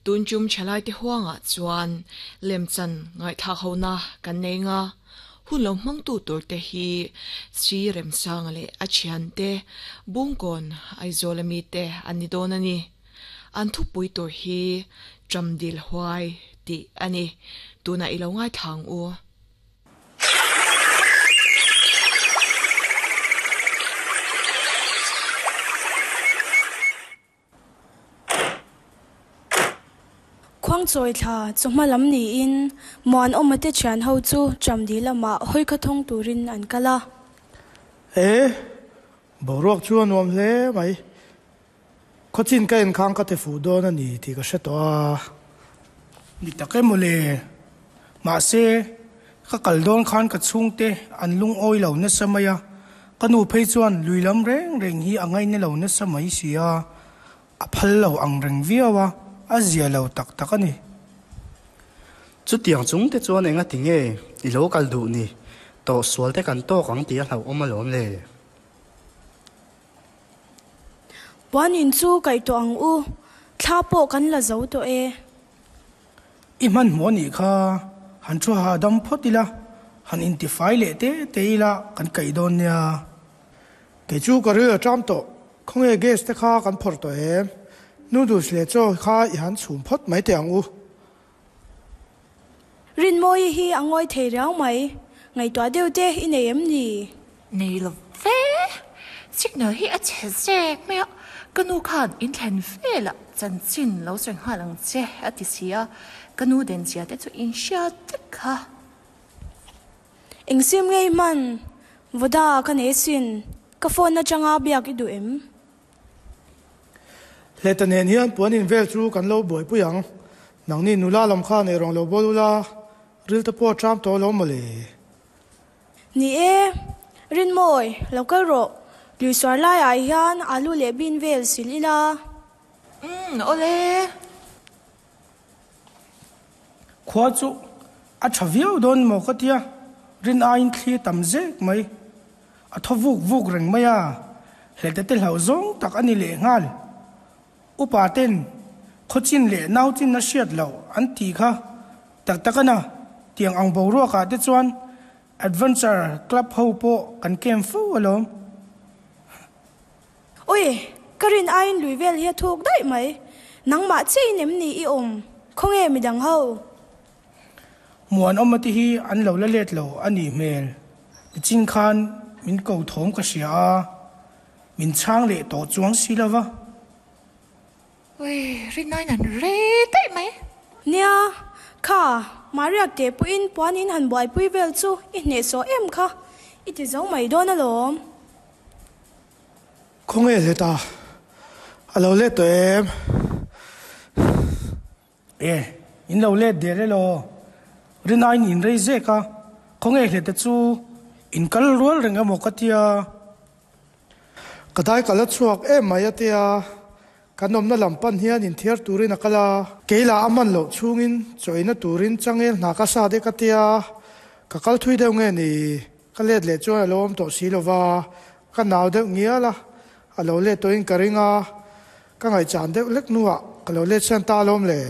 Tun tum thalaite huangah chuan lemchan ngaihthlak hona kan nei nga, hun lo hmangtu turte hi Sri Remsanga leh a thiante Bungkawn Aizawl ami te an ni dawn a ni. An thupui tur hi Tramdil Huai tih a ni. Tunah i lo ngaithla ang u. Khuangchawi thla chawhma lam niin Muanawma te thian ho chu Chamdi lamah hawi kha thawng turin an kal a. E, boruak chu a nuam hle mai. Khawchin ka enkhang ka ti fuh dawn a ni tih ka hre tawh a. Ni tak em mawle. Mahse, ka kal dawn khan ka chhungte an lungawi lo nasa mai a, ka nu phei chuan lui lam reng reng hi a ngaina lo nasa mai si a, a phal lo ang reng viau a, a zia lo tak tak a ni. Chutiang chung te chuan enga ti nge i lo kal duh ni? Tawhsual te kan tawk ang tih a hlauhawm alawm le. Puan in chu kaih tawh ang u, thla pawh kan la zo tawh e. I hmanhmawh a nih kha, han thu hahdam phawt ila, han intifai leh te te ila kan kaih dawn nia. Kei chu ka ril a ṭam tawh, khawnge gas te kha kan phawrh tawh em? Noodles leh chaw kha i han chhum phawt mai teh ang u. Rinmawii hi a ngawi thei riau mai, ngaihtuah deuh te i nei em ni? Nei lo ve, signal hi a chhe zek mai a, ka nu khan in thlen velah chanchin lo sawi nghal ang che a ti si a, ka nu den zia te chu in hria vek kha. Eng sim ngei hman, Voda ka nei sin, ka phone atanga biak i duh em? Hleta nen hian puan in vel chu kan lo buaipui ang. Nangni nula lam kha nei rawng lo bawl ula, ril te pawh a ṭam tawh lo mawle. Ni e, Rinmawi, lo kal rawh. Lui suar laiah hian alu leh bean vel sil ila. Umm, awle. Khua chu a ṭha viau dawn maw ka tia, rin aiin thli a tam zek mai. A thaw vuk vuk reng mai a, hlete te hlauh zawng tak a ni lehnghal. Upa ten khawchin leh nauchin a hriat loh an tih kha tak tak a na. Tiang ang boruakah te chuan Adventure Club ho pawh kan camp fo alawm. Ui, ka rin aiin lui vel hi a thuk daih mai. Nangmah chiahin em ni i awm? Khawnge midang ho? Muanawma te hi an lo la let lo a nih hmel. Nichin khan min ko thawm ka hria a, min chhang leh tawh chuang si lo va. Ui, rinaiin an rei daih mai. Nia, kha, Maria te pawhin puanin han buaipui vel chu i hnehsawh em kha, i ti zo mai dawn alawm. Khawnge let a? A lo let tawh em? E, in lo let der elaw? Rinaiin in rei zek a, khawnge hlete chu in kal rual reng emaw ka tia. Ka dai ka la chhuak em mai a tia, kan awmna lam pan hian inthiar turin a kal a. Kei lah a man loh chhungin chawina turin changel hna ka sa dek a tia, ka kal thui deuh nge ni? Ka let leh chuan a lo awm tawh si lova, ka nau deuh ngial a, a lo let tawhin ka ring a, ka ngaihchan deuh hlek hnuah ka lo let sian ta alawm le.